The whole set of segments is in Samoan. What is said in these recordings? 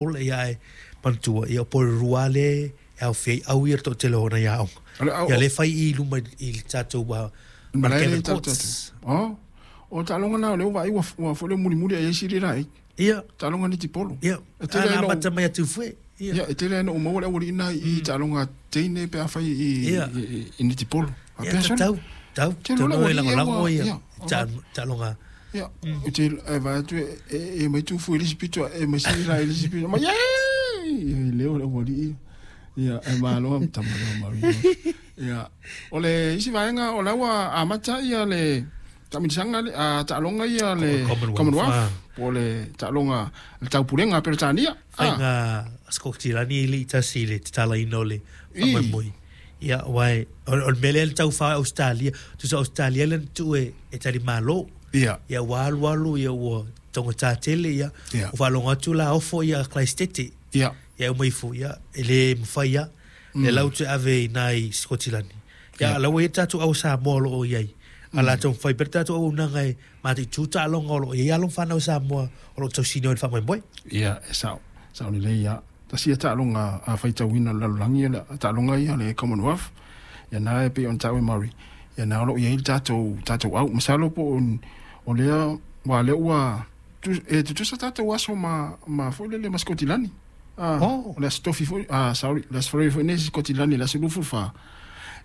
Ola ia ae manatua ia o Porirua lea e aofia ai au ia le toatele o nai aoga. Ia lea e fai i luma i le tatou Malae lea Courts. Oh, o taaloga na o lea ua vaai ua foi lea mulimuli ai sili la ai. Ia. Taaloga netipolo. Ia. E tele ai amata mai atu fue. Ia. Ia, e tele ai na ou maua le aualii na i taaloga teine pe afai i i netipolo. Ia, tatau, tau, tau e lagolago ia taaloga. Ia, ou te e vaai atu e mai tufu i le isi pito, e mai sili la i le isi pito. Mai, e leo le aualii. Ia, e malo a tama leo Maria. Ia, o le isi vaega o la ua amata ia le taamilosaga le taaloga ia le Commonwealth, po o le taaloga le taupulega a Peretania. Faiga Sikotilani e le i tasi i le tatalaina o le faamoemoe. Ia, aua o le mea lea le taufa Ausetalia, tusa Ausetalia lea na tuu e talimalo. Ia. Ia ua alualu ia ua taugata tele ia. Ia. Ua faalogo atu la ofo ia Kalaisitete. Ia. Ia uma ifo ia e le mafai lava. Lea la ua toe ave i ina i Sikotilani. Ia a o la ua i ai le tatou au Samoa o lo o i ai. A o le a taumafai pea le tatou auaunaga e mataitu taaloga o lo o i ai alo ma fanau Samoa o lo o tausinio i le faamoemoe. Ia, e sao. Sao lelei lava. Tasi ia taaloga a faitauina o le lalolagi, o le taaloga ia o le Commonwealth. Ia na e pei ona taua e Murray, ia na o lo o i ai le tatou, tatou au. Masalo po o, o lea, aua o lea ua, e tutusa tatou aso ma, ma foi lele ma Sikotilani. Ah, Oh. o le Aso Tofi foi, ah, sorry, le Aso Faraile foi nei Sikotilani, le aso 24.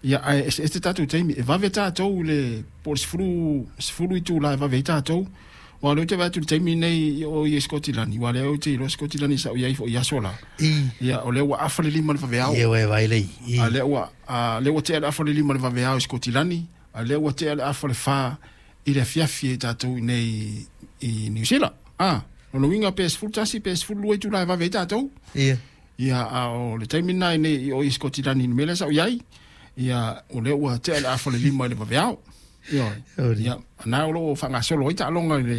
Ia, ae eseese tatou taimi. E vave tatou i le, po o le 10, 10 itula e vave ai tatou. Aua o lea ou te vaai atu i le taimi lenei i o i Sikotilani, aua o lea ou te iloa Sikotilani sa ou i ai foi i aso la. Ia, o lea ua afa le 5 i le vaveao. Ia, ua e vaai lea i. A lea ua, a lea ua tea le afa o le 5 i le vaveao i Sikotilani, a lea ua tea le afa o le 4 i le afiafi e tatou i nei i Niu Sila. A, lona uiga pe 11 pe 12 itula e vave ai tatou. Ia. Ia, a o le taimi lena i nei i o i Sikotilani i le mea lea sa ou i ai, ia, o lea ua tea le afa o le 5 i le vaveao. Ioe. Ia, na o lo o faagasolo ai taaloga i le,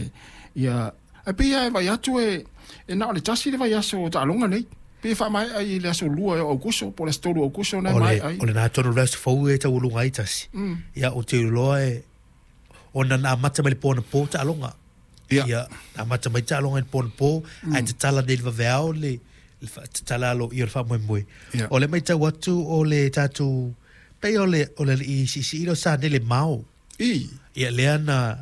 ia, ae pei lava e vaai atu e, e na o le tasi le vaiaso o taaloga nei. Pei e faamaea i le aso 2 o Aukuso po o le aso 3 o Aukuso na e maea ai. O lena tonu le aso fou e taualuga ai tasi. Ia, ou te iloa e, ona na amata mai le po anapo taaloga. Ia. Ia, na amata mai taaloga i le po anapo, ae tatala nei i le vaveao le, le tatala aloaia o le faamoemoe. Ia. O lea e matau atu o le tatou, pei o le, o le alii siisii lea o Sanele Mao. I. Ia, lea na,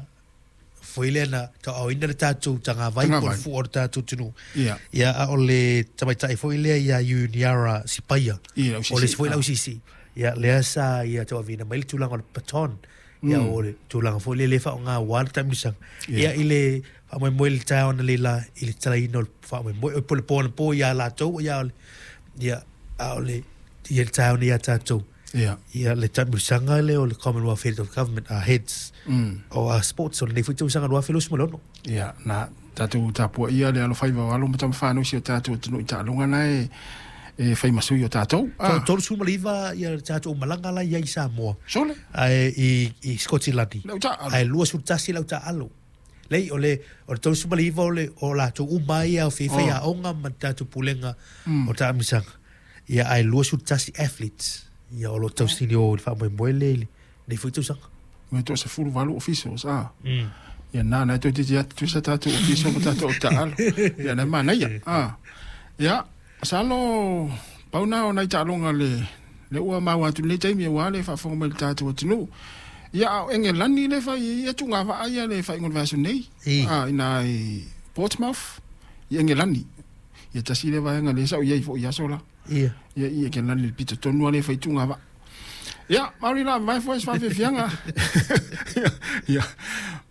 foi lea na tauaaoina le tatou tagavai po o le fua o le tatou atunuu. Ia. Ia, a o le tamaitai foi lea ia Iuniara Sipaia. Ia, O le isi foi lausiisii. Ia, lea sa ia tauaveina mai le tulaga o le baton. Ia, o le tulaga foi lea le faaaoga aua le taamilosaga. Ia, i le faamoemoe i le taeao analeila i le tatalaina o le faamoemoe, po o le po anapo ia latou, ia, o le, ia, a o le, ia le taeao nei ia tatou. Ia. Ia, le taamilosaga lea o le Commonwealth Heads of Government, Heads o Sports o lenei foi tausaga 2026. Ia, na tatou tapuaia le alofaiva o alo ma tamafanau o si o tatou atunuu i taaloga na e fai ma sui o tatou. Ah. 39 ia le tatou malaga la i ai i Samoa. Sole. Ae i Sikotilani. Le au taaalo. Ae 21 le au taaalo. Leai, o le 39 o le o latou uma ai ia o fai aoga ma le tatou pulega o taamilosaga. Ia ae 21 athletes ia o lo o tausini o i le faamoemoe lea i lenei foi tausaga. Me toa 18 officials, ah. Ia na, na toeitiiti lava tutusa tatou official ma tatou au taaalo. Ia na e manaia, ah. Ia, masalo pau na o nai taaloga le lea ua maua atu i lenei taimi aua le faafofoga mai i le tatou atunuu. Ia, a o Engelani lea e fai ai ia tugavaa ia le faaiuga o le vaiaso nei, ah, i ina i Portsmouth, i Engelani. Ia tasi lea vaega lea sa ou i ai foi i aso la. Ia. Ia, i Engelani i le pito tonu lava lea e fai tugavaa. Ia, mauri la vae foi se faafiafiaga. Ia,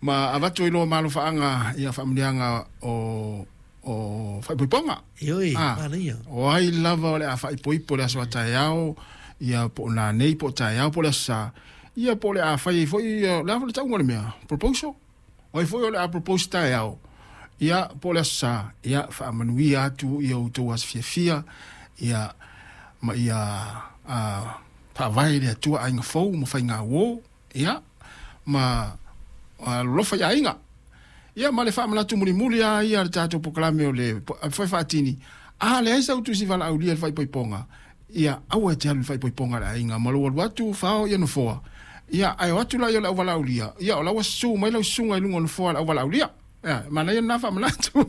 ma avatu ai loa ma alofaaga ia faamanuiaga o o faaipoipoga. Ioe, manaia. O ai lava o le a faaipoipo i le aso a taeao, ia po o nanei po o taeao po o le aso Sa, ia po o le a fai ai foi o le a foi le tauga o le mea, proposal. O ai foi o le a propose taeao, ia po o le aso Sa, ia faamanuia atu ia outou aso fiafia, ia ma ia faavae i le Atua aiga fou ma faiga uo, ia ma alolofa i aiga. Ia ma le faamanatu mulimuli lava ia a le tatou polokalame o le Foe Faatini, a leai sau tusi valaaulia i le faaipoipoga, ia aua e te alu i le faaipoipoga a le aiga ma lou alu atu fao ia nofoa. Ia, ae o atu la ia o le auvalaaulia, ia o la ua susu mai lau susuga i luga o le nofoa a le auvalaaulia. Ia, e manaia lena faamanatu.